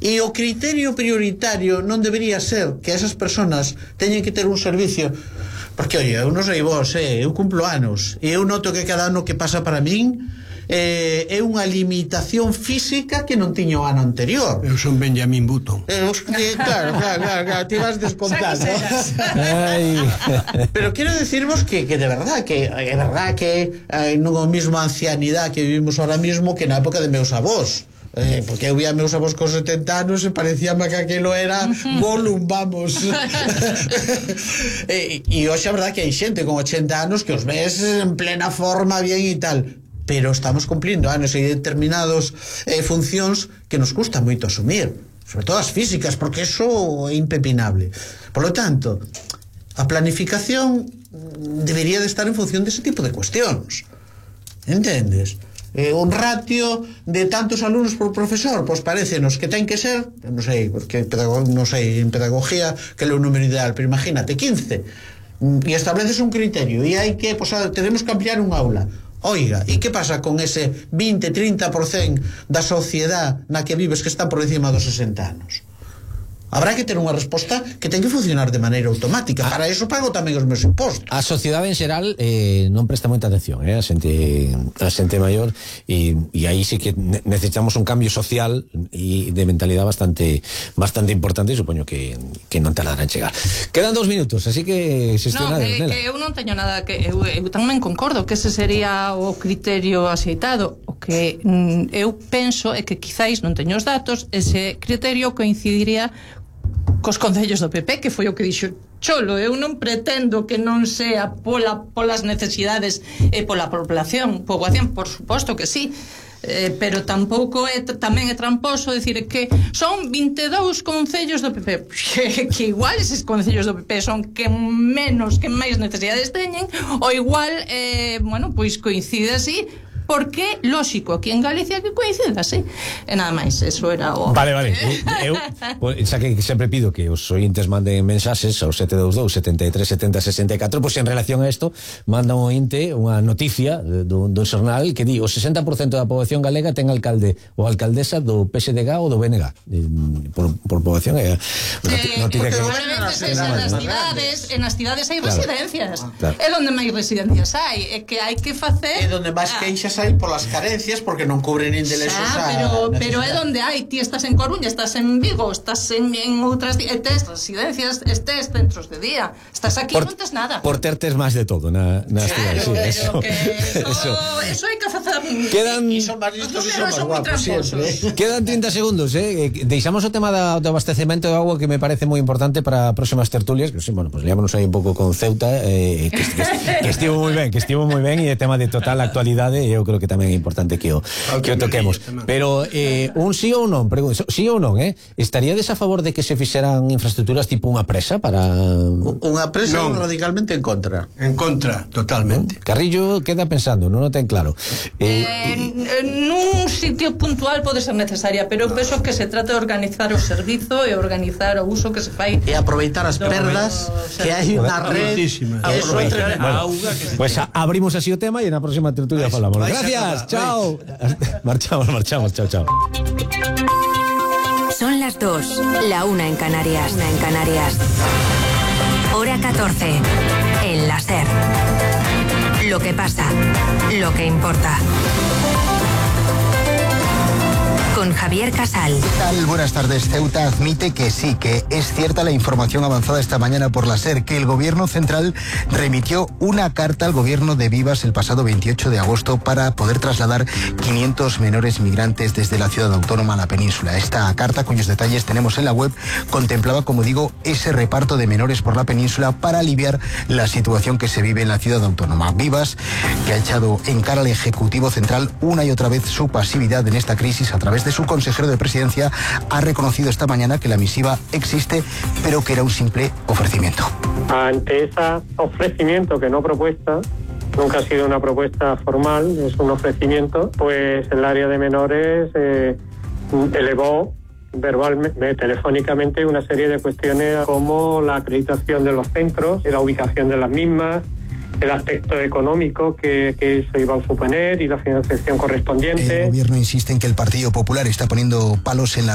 E o criterio prioritario non debería ser que esas personas teñen que ter un servicio, porque, oye, eu non sei vos, eu cumplo anos e eu noto que cada ano que pasa para min é unha limitación física que non tiña o ano anterior. Eu son Benjamín Button. Claro, ti vas descontando. Pero quero decirvos que de verdad que é verdad que non é a mesma ancianidade que vivimos ahora mismo que na época de meus avós. Porque eu vía meus avós con 70 anos e parecíame que aquilo era Gollum, vamos. E hoxe a verdad que hai xente con 80 anos que os ves en plena forma bien e tal, pero estamos cumplindo anos e determinados funcións que nos custa moito asumir, sobre todo as físicas, porque eso é impepinable. Por lo tanto, a planificación debería de estar en función dese tipo de cuestións, entendes? Un ratio de tantos alumnos por profesor, pois parécenos que ten que ser, non sei, porque non sei en pedagogía que é o número ideal, pero imagínate 15, e estableces un criterio e hai que, pois tenemos que ampliar un aula. Oiga, e que pasa con ese 20-30% da sociedade na que vives que está por encima dos 60 anos? Habrá que ter unha resposta que ten que funcionar de maneira automática. Para eso pago tamén os meus impostos. A sociedade en xeral non presta moita atención a xente maior, e aí sí que necesitamos un cambio social e de mentalidade bastante importante, e supoño que non tardará en chegar. Quedan 2 minutos, así que que eu non teño nada que eu tamén concordo que ese sería o criterio axeitado. O que eu penso é que quizáis non teño os datos, ese criterio coincidiría cos concellos do PP, que foi o que dixo Cholo. Eu non pretendo que non sea polas necesidades e pola poboación, por suposto que sí, pero tampouco tamén é tramposo decir que son 22 concellos do PP, que igual eses concellos do PP son que máis necesidades teñen, ou igual pois coincide así, porque, lógico, aquí en Galicia que coincida, sí. E nada máis, eso era o... Vale. Eu xa que sempre pido que os ointes manden mensaxes ao 722 73 70 64, pois en relación a isto manda un ointe unha noticia dun xornal que di o 60% da poboación galega ten alcalde ou alcaldesa do PSDG ou do BNG por poboación. Porque probablemente nas cidades hai residencias, é onde máis residencias hai, é que hai que facer, é onde máis queixas hai polas carencias porque non cubren nin de lexos pero é onde hai, ti estás en Coruña, estás en Vigo, estás en outras tes residencias, estes centros de día, estás aquí, non tes nada por tertes máis de todo nas cidades. Eso hai que facer. Quedan son máis listos e son máis guapos sempre. Quedan 30 segundos, deixamos o tema do abastecemento de agua, que me parece moi importante para próximas tertulias, que bueno, pues liámonos aí un pouco con Ceuta, que estivo moi ben, e o tema de total actualidade, eu creo que tamén é importante que o toquemos. Pero un sí ou non, sí ou non, estaríades a favor de que se fixeran infraestructuras tipo unha presa para... Unha presa non, radicalmente en contra. En contra, totalmente. Carrillo queda pensando, non o ten claro. Nun sitio puntual pode ser necesaria, pero penso que se trata de organizar o servizo e organizar o uso que se fai e aproveitar as perdas que hai unha red. Pues abrimos así o tema e na próxima tertulia falamos. Gracias, chao. Marchamos, chao. Son las 2, la 1 en Canarias. Hora 14, en la SER. Lo que pasa, lo que importa. Con Javier Casal. ¿Qué tal? Buenas tardes. Ceuta admite que sí, que es cierta la información avanzada esta mañana por la SER, que el gobierno central remitió una carta al gobierno de Vivas el pasado 28 de agosto para poder trasladar 500 menores migrantes desde la ciudad autónoma a la península. Esta carta, cuyos detalles tenemos en la web, contemplaba, como digo, ese reparto de menores por la península para aliviar la situación que se vive en la ciudad autónoma. Vivas, que ha echado en cara al Ejecutivo Central una y otra vez su pasividad en esta crisis a través de su consejero de presidencia, ha reconocido esta mañana que la misiva existe, pero que era un simple ofrecimiento. Ante ese ofrecimiento, que no propuesta, nunca ha sido una propuesta formal, es un ofrecimiento, pues el área de menores elevó verbalmente, telefónicamente, una serie de cuestiones como la acreditación de los centros, la ubicación de las mismas, el aspecto económico que se iba a suponer y la financiación correspondiente. El gobierno insiste en que el Partido Popular está poniendo palos en la